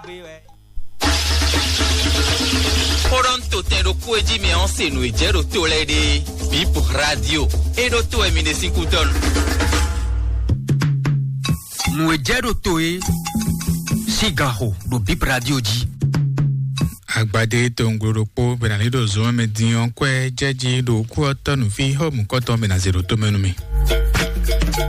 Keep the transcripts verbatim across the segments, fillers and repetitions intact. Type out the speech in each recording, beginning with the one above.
Xó ɖɔ un to tɛn ɖokpó e jí mi ɔ́ se nǔ e jɛ ɖo to lɛ́ɛ ɖe. Bip radio. E ɖo to wɛ mi ɖe sín kútɔ́nu. Nǔ e jɛ ɖo to e sín gan xo ɖo Bip radio jí. Agbadé tonglo ɖokpó bɛnali ɖo zɔn mɛ din ɔ́, kwɛ jɛjí ɖo kú ɔ́ tɔ́ nǔ fí xɔ mǔkɔtɔn bɛnazɛ ɖo tomɛ nú mi.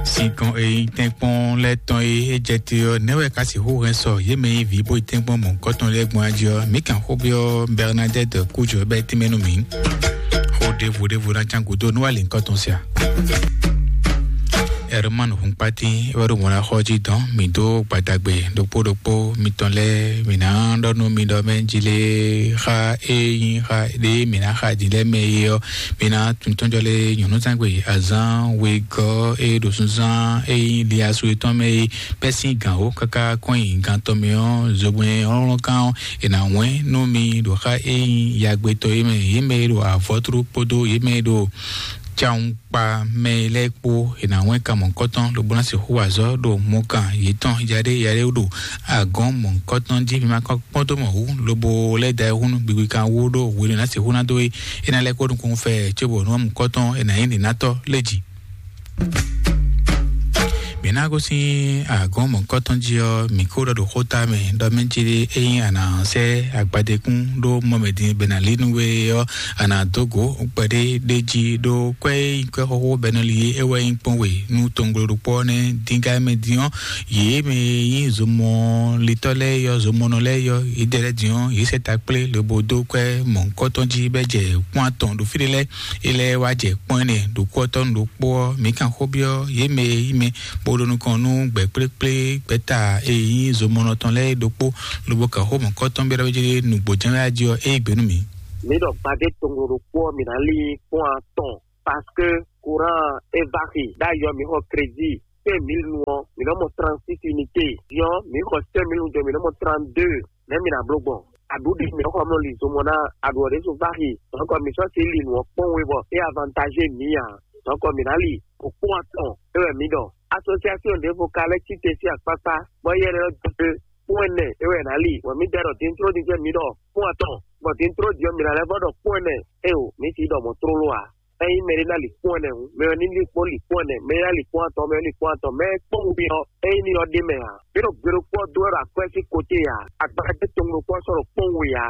Sinkɔn e nyí tɛ́nkpɔ́n lɛ́ɛ tɔn e é jɛ te ɔ́, nɛ́ wɛ ka sixú hɛn sɔ yě mɛ e ví bó yi tɛ́nkpɔ́n mɔ̌hunkɔtɔn lɛ́ɛ gbɔn jí ɔ́? Mǐ kan xó byɔ́ Bernadette Kújɔ bɛ́ tínmɛ nú mǐ. Xó ɖěvo ɖěvo ná cán gǔdo nú alǐnkɔtɔn sia. Herman Hunkpati é wɛ ɖo mɔ̌ ná xɔ jí dɔn mǐ dó gbadagbe ɖokpó ɖokpó mitɔn lɛ́ɛ, mǐ ná ɖɔ nú mi ɖɔ mɛ jí lé xa e nyí xa ɖé mǐ ná xa jí lɛ́ɛ mɛ é ɔ́, mǐ ná tuntɔ́njɔ lé nyɔ̌núzangbe azán wegɔ́ e ɖo sunzán e nyí liasu yětɔn mɛ é bɛ́ sín gǎn wǒ káká kɔn nyi gan tɔn mɛ ɔ́, zogbɛ́n hlɔ́nhlɔ́n kan ɔ́, è nǎ wɛ́n nú mi ɖo xa e nyí yagbetɔ́ é mɛ, yě mɛ e ɖo avɔ́tlú kpódó yě mɛ e ɖo cawun kpa mɛ lɛ́ɛ kpó, è nǎ wɛ́n kan mɔ̌hunkɔtɔn lobo ná sixú wa azɔ̌ ɖo mɔkan yětɔn yaɖé yaɖé ɖo agɔ̌n mɔ̌hunkɔtɔn jí. Mi ma kɔn kpɔ́n dó mɔ hǔ lobo lɛ́ da ayihún nú gbigbi kan wú ɖó hwenu e ná sixú ná dó é, é ná lɛ́ kó nukúnnú fɛ cóbɔ nú mɔ̌hunkɔtɔn è nǎ nyí nǐnátɔ́ lé jí. Mǐ ná gosín agɔ̌n mɔ̌hunkɔtɔn jí ɔ́, mǐ kó ɖɔ ɖo xóta mɛ ɖɔ mɛ jí ɖé, ényí a nǎ sɛ́ agbadékún ɖó mɔ mɛ din bɛ nǎ lí nú we ɔ́, a nǎ dó gǒ kpɛɖé ɖé jí ɖó kwɛ́ e nyí kwɛ́ xóxó bɛ́ nɔ li é wɛ nyí kpɔ́n we nú tonglo ɖokpó ɔ́ nɛ́. Díngá mɛ din ɔ́, yě mɛ e nyí zomɔlitɔ́ lɛ́ɛ yɔ, zomɔnɔ lɛ́ɛ yɔ, yědɛɛ lɛ́ɛ din ɔ́, yě sɛ ta kplé lobo dó kwɛ́ mɔ̌hunkɔtɔn jí bɛ́ jɛ kpɔ́n atɔn ɖo fí ɖé lɛ́ɛ. É lɛ́ɛ wá jɛ kpɔ́n ɛnɛ ɖo kú ɔ́ tɔ́ nú ɖokpó ɔ́, mǐ kan xó byɔ́ yě mɛ e nyí mɛ bó ɖo nukɔn nú gbɛ̌ kplékplé gbɛ̌ta e nyí zomɔnɔ tɔn lɛ́ɛ é ɖokpó, lobo kan xó mɔ̌hunkɔtɔn byɔ́ ɖɔ jí nǔgbó jɛ́n wɛ á jí ɔ́, é yí gbe nú mǐ. Mǐ ɖɔ gbadé tonglo ɖokpó ɔ́, mǐ ná lí kpɔ́n atɔn, parce que courant é va xi ɖ'ayǐ ɔ́, mǐ xɔ crédit cinq mille nu ɔ́, mǐ nɔ mɔ trente-six unité. Din ɔ́, mǐ xɔ cinq mille nu jɔ, mǐ nɔ mɔ trente-deux. Nɛ̌ mǐ ná bló gbɔn? Aɖǔ ɖé mǐ nɔ xɔ mlɔ li zomɔ ná aɖǔ ɔ́ ɖésú va xi. Donc mǐ sɔ́ sí li nǔ ɔ́ kpɔ́n we bɔ é avantage mǐ ǎ. Donc mǐ ná li ɖo kpɔ́n atɔn é wɛ mǐ ɖɔ. Association ɖěvo ka lɛ́ cí te sín akpákpá, bɔ éyɛ́ lɛ́ dó kpɔ́n ɛnɛ é wɛ è nǎ li. Bɔ mǐ dɛ ɖɔ din tló din jɛ́n mǐ ɖɔ kpɔ́n atɔn, bɔ din tló din ɔ́ mǐ ná lɛ́ vɔ ɖɔ kpɔ́n ɛnɛ. Éyo, mǐ sixú ɖɔ mɔ̌ tlóló ǎ. Ényí mɛɖé ná li kpɔ́n ɛnɛ hǔn, mɛ ɔ́ ní li kpɔ́n li kpɔ́n ɛnɛ, mɛ ɔ́ ná li kpɔ́n atɔn, mɛ ɔ́ ní li kpɔ́n atɔn, mɛ e kpɔ́n we ɔ́, ényí ní ɔ́ ɖ'é mɛ ǎ. Mǐ ɖo gbe ɖokpó ɔ́ dó wɛ ɖo akwɛ́ sín koté ǎ, agbadé tɔn ɖokpó ɔ́ sɔ́ ɖo kpɔ́n we ǎ.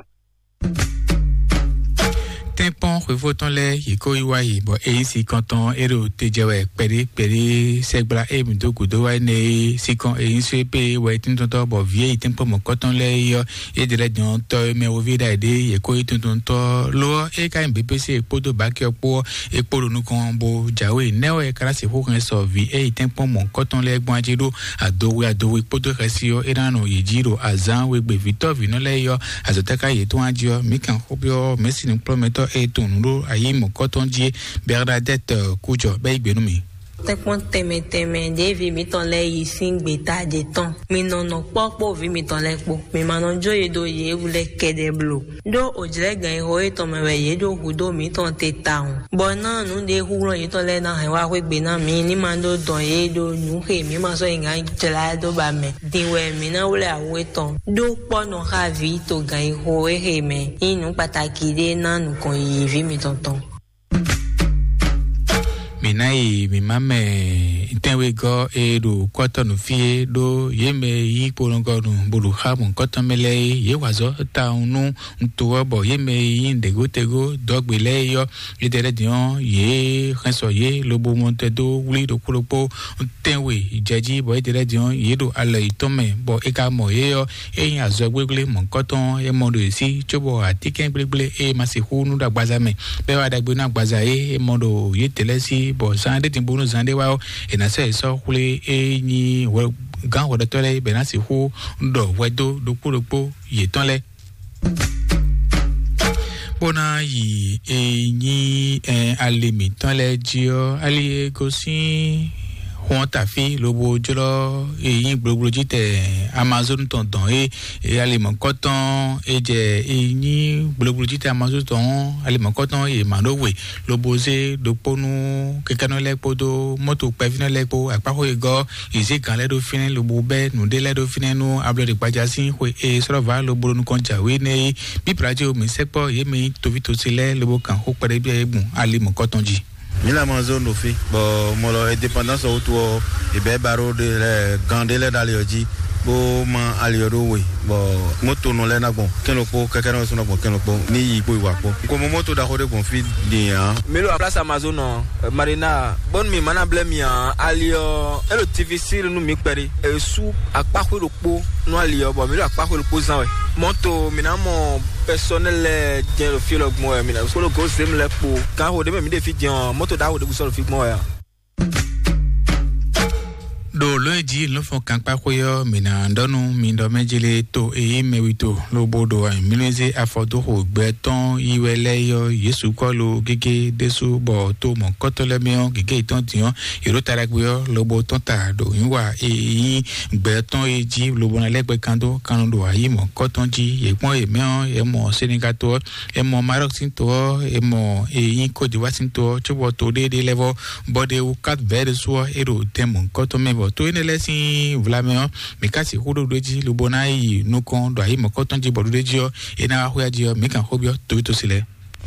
Tɛ́nkpɔ́n xwefó tɔn lɛ́ɛ yě kó yi wá yi, bɔ é nyí sinkɔn tɔn é ɖo te jɛ wɛ kpɛɖé kpɛɖé sɛgbla e mǐ dó gǔdo wá énɛ́ é. Sinkɔn e nyí sú é pé wɛ é tíntɔ́ntɔ́, bɔ vǐ e yi tɛ́nkpɔ́n mɔ̌kɔ́tɔn lɛ́ɛ é ɔ́, yě ɖě lɛ́ɛ dɔn tɔ́ e mɛ woví ɖ'ayǐ ɖé, yě kó yi tuntun tɔ́. Lo ɔ́, é ka nyí běbésé e kpódó bǎki ɔ́ kpó ɔ́, é kpó ɖo nukɔn bó jǎwe. Nɛ́ wɛ é ka ná sixú hɛn sɔ vǐ e yi tɛ́nkpɔ́n mɔ̌kɔ́tɔn lɛ́ɛ gbɔn ají ɖó adowe adowe kpódó xɛsi ɔ́, é ná nɔ yě jí ɖo azǎn we gbe vǐtɔ́ vǐnɔ lɛ́ɛ é ɔ́, azɔ̌ tɛ́ ká yě tɔn wá jí ɔ́? Mǐ kan xó byɔ́ mɛ̌si nukplɔ́nmɛtɔ́ e tunwun nǔ ɖó ayǐ mɔ̌kɔ́tɔn jí é, Bernadette Kújɔ, bɛ́ yí gbe nú mì. Tɛ́nkpɔ́n tɛnmɛ tɛnmɛ ɖěvi mǐtɔn lɛ́ɛ yi sín gbeta ɖě tɔn. Mi nɔ nɔ kpɔ́ kpó vǐ mitɔn lɛ́ɛ kpó. Mi ma nɔ jó yi ɖo yě wú lɛ́ɛ kɛ́ɖɛ́ bló. Ɖó òjlɛ́gǎn e xo yětɔn mɛ wɛ yě ɖo hudó mǐtɔn te tawun. Bɔ ná nǔ ɖě húnglɔ́n yětɔn lɛ́ɛ ná hɛn wá xwé gbe ná mǐ, ní ma ɖó dɔn yě ɖó nǔ xe mǐ ma sɔ́ yi gǎn jlá dó ba mɛ. Din wɛ mǐ ná wlɛ́ awu étɔn. Ɖó kpɔ́ nɔ xá vǐ togǎn e xo é xe mɛ. Nyí nǔ kpatáki ɖé ná nukɔn yiyi vǐ mitɔn tɔn. Mǐ ná yi mǐmá mɛ tɛ́nwegɔ́ e ɖo kɔ́tɔ́nu fí é ɖó yě mɛ yí kponɔgɔnu bó ɖo xá mɔ̌kɔ́tɔn mɛ lɛ́ɛ é, yě wa azɔ̌ tawun nú to ɔ́, bɔ yě mɛ e nyí ɖěgótegó dɔ̌gbe lɛ́ɛ é ɔ́, yědɛɛ lɛ́ɛ din ɔ́, yě hɛn sɔ yě lobo mɔ tɛn dó wlí ɖokpó ɖokpó tɛ́nwe jɛ jí, bɔ yědɛɛ lɛ́ɛ din ɔ́, yě ɖo alɔ yětɔn mɛ, bɔ è ka mɔ yě ɔ́, é nyí azɔgblégblé mɔ̌kɔ́tɔn e mɔ ɖo yě sí, cóbɔ atínkɛngblégblé e ma sixú nú ɖo agbaza mɛ, bɔ é wá ɖagbe nú agbaza é e mɔ ɖo yědɛɛ lɛ́ɛ sí, bɔ zán ɖé din bónú zán ɖé wá ɔ́, è nǎ sɔ́ yě sɔ́ xwlé e nyí hwɛ gán hwɛɖɔtɔ́ lɛ́ɛ, bɔ è nǎ sixú ɖɔ hwɛ dó ɖokpó ɖokpó yětɔn lɛ́ɛ. Bó ná yi e nyí ɛ, ali mǐtɔn lɛ́ɛ jí ɔ́, ali e gosín Xɔ́n tafí lobo jlɔ́ e nyí gblogblojí tɛ Amazon tɔn dɔn é, e alimɔ̌kɔ́tɔn e jɛ e nyí gblogblojí tɛ Amazon tɔn alimɔ̌kɔ́tɔn e mǎ ɖó we lobo zé ɖokpó nú kɛkɛnɔ lɛ́ɛ kpódó mɔ́to kpɛvínɔ lɛ́ɛ kpó akpáxó e gɔ́ yě zé gǎn lɛ́ɛ ɖó fínɛ́ lobo bɛ́ nǔɖé lɛ́ɛ ɖó fínɛ́ nú ablɔɖegbaja sín xwe e sɔ́lɔ́vǎ lobo ɖo nukɔn jǎwe nɛ́ é. Bíblají o mǐ sɛkpɔ́ yě mɛ nyí toví tosi lɛ́ɛ lobo kan xó kpɛɖé byɔ́ yě gbɔn alimɔ̌kɔ́tɔn jí. Mila manzo no fi, bɔ mɔlɔ indépendance wutu ɔ, ìbɛ baro de lɛ gan de lɛ dali ɔ jí, bó ma ali ɔ ɖó we, bɔ moto nɔ lɛ na gbɔn kɛnɛ kpó kɛkɛ nɔ sɔnɔ gbɔn kɛnɛ kpó ní yi kpó ìwà kpó. Kò mɔ moto ɖaxó ɖé gbɔn fi din a. Milo a place Amazon ɔ, Marina, bɔn mi mana blɛ mi a, ali ɔ, elo T V siri nu mi kpɛri, esu akpaxwe ɖokpo nú ali ɔ, bɔ mi ɖo akpaxwe ɖokpo zan wɛ. Mɔto mi na mɔ personnel lɛ jɛn ɖo fi lɔ gbɔn wɛ, mi na solo go zem lɛ kpo. Kan ho ɖe mɛ mi ɖe fi jɛn ɔ, moto ɖaxo ɖe bu sɔ ɖo fi gbɔn wɛ a. Ɖo lɔ̌ e jí lɔ̌nfɔ́n kankpáxwé ɔ́, mǐ ná ɖɔ nú mi ɖɔ mɛ jélé to e nyí mɛwito lobo ɖo mǐnúzé afɔdóxo gbɛ tɔn yi wɛ lɛ́ɛ ɔ́, Yěsu kɔ lo gégé ɖésú bɔ to mɔ̌kɔtɔ́ lɛ́ɛ mɛ ɔ́, gěgé yětɔn din ɔ́, yě ɖo ta ɖagbe ɔ́ lobo tɔ́n ta ɖo nyǐwa e nyí gbɛ tɔn e jí lobo ná lɛ́ gbɛ kan dó kan ɖo ayǐ mɔ̌kɔtɔn jí. Yě kpɔ́n yě mɛ ɔ́, yě mɔ Senegal to ɔ́, yě mɔ Maroc sín to ɔ́, yě mɔ e nyí Côte d'Ivoire sín to ɔ́, cóbɔ to ɖéeɖée lɛ́ɛ vɔ bɔ ɖe wu Cap Vert ɖésú ɔ́, é ɖo tɛn mɔ̌hunkɔtɔn mɛ, bɔ to énɛ́ lɛ́ɛ sín vlamɛ ɔ́, mǐ ka sixú ɖó ɖó jí lobo ná yi nukɔn ɖo ayǐ mɔ̌kɔtɔn jí bɔ ɖó ɖé jí ɔ́, é ná wá xwé jí ɔ́, mǐ kan xó byɔ́ toví tosi lɛ́ɛ.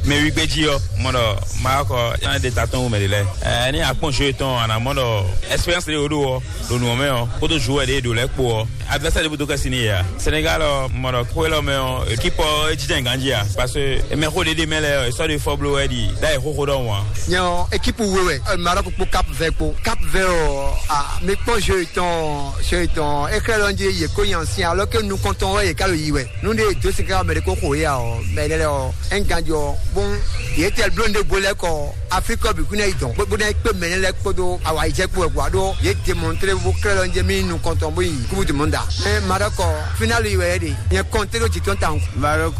Mɛ wí gbé jí ɔ́, mɔ ɖɔ Maroc ɔ́, é ná ɖe ta tɔn wú mɛ ɖě lɛ́ɛ. Ɛɛ, ní akpɔ́n jeu tɔn, a nǎ mɔ ɖɔ expérience ɖé wó ɖó ɔ́, ɖo nǔ ɔ́ mɛ ɔ́, kpódó joueur ɖě e ɖo lɛ́ɛ kpó ɔ́, adversaire ɖěbǔ dó kɛ́ sin n'i yě a? Senegal ɔ, mɔ ɖɔ xó élɔ́ mɛ ɔ́, équipe ɔ́ é jínjɔ́n ganjí a? Parce que mɛ xó ɖě ɖe mɛ lɛ́ɛ ɔ́, è sɔ́ ɖo fɔ bló wɛ ɖi ɖá è xóxó ɖɔhun a. Nyɛ ɔ́, équipe we wɛ, Maroc kpó Cap Vert kpó. Cap Vert ɔ́, a, mi kpɔ́n jeu tɔn, jeu tɔn, é xlɛ́ ɖɔ jí yě kó nyi ancien, alors que nukɔntɔn wɛ yě ká ɖo yi wɛ. Nú ɖé dó sin ká mɛ ɖé kó xo yé a ɔ́, mɛ ɖé lɛ́ɛ ɔ́, é ń ganjɔ, bɔn yě tɛ bló ɖé bo lɛ́ kɔ Afrique bǐ kún ná yi dɔn, bó ná yi kpé mɛ lɛ́ɛ kpódó awǎyijɛ kpó wɛ kó wá ɖó yě démontré bó klɛ́ ɖɔ jɛ mí nukɔntɔn bó yi kúbu dèmɔnda. Ɛ Maroc, final yi wɛ é ɖe, nyɛ kɔnté ɖó jǐ tɔn tawun. Maroc,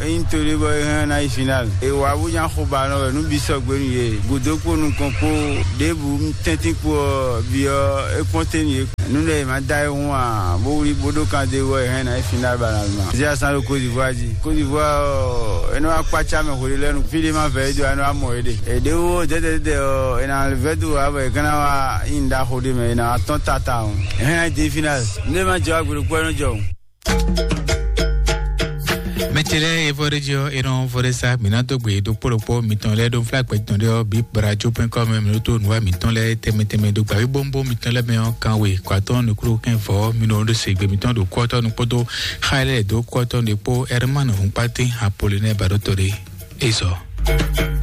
é nyí to ɖé bɔ é hɛn ná yi final. È wǎ bó nya xo ba nɔ wɛ nú bǐ sɔgbe nú yě. Gǔdo kpó nukɔn kpó ɖěbǔ tɛ́ntin kpó ɔ́, bǐ ɔ́, é kpɔ́n tɛ́ nú yě. Nú ɖɔ è ma da ayihún ǎ, bó wlí bó ɖó kan dó wɔ è hɛn ná yi final ba ná ma. Zé asán ɖo Côte d'Ivoire jí. Côte d'Ivoire ɔ́, é nɔ wá kpácá mɛ hwe lɛ́ɛ nu. Fí ɖé ma vɛ̌ é dó, é nɔ wá mɔ é ɖe. È ɖě wó dɛ́dɛ́dɛ́ ɔ́, è nǎ vɛ́ dó ǎ bɔ è ka ná wá nyi ɖaxo ɖé mɛ, è nǎ wá tɔ́n tata ɔ́. È hɛn ná yi dé final. Nú é ma jɛ wá gbe ɖokpó, é nɔ jɔ. Mɛtɛlɛ evɔɖeji ɔ, enɔ vɔɖesa mina dogbe ɖokpó ɖokpó mitɔn lɛ ɖo fla gbɛtɔn ɖe ɔ bi brajo pɛn kɔ mɛ mɛ to nuwa mitɔn lɛ tɛmɛ tɛmɛ do gbavi bombo mitɔn lɛ mɛ ɔ kan we kɔatɔn nukuru kɛn vɔ minɔ ɖo segbe mitɔn ɖo kɔtɔ nukpodo xa lɛ do kɔtɔ ɖe kpo Herman Hunkpate Apolline Baɖotɔ ɖe ezɔ.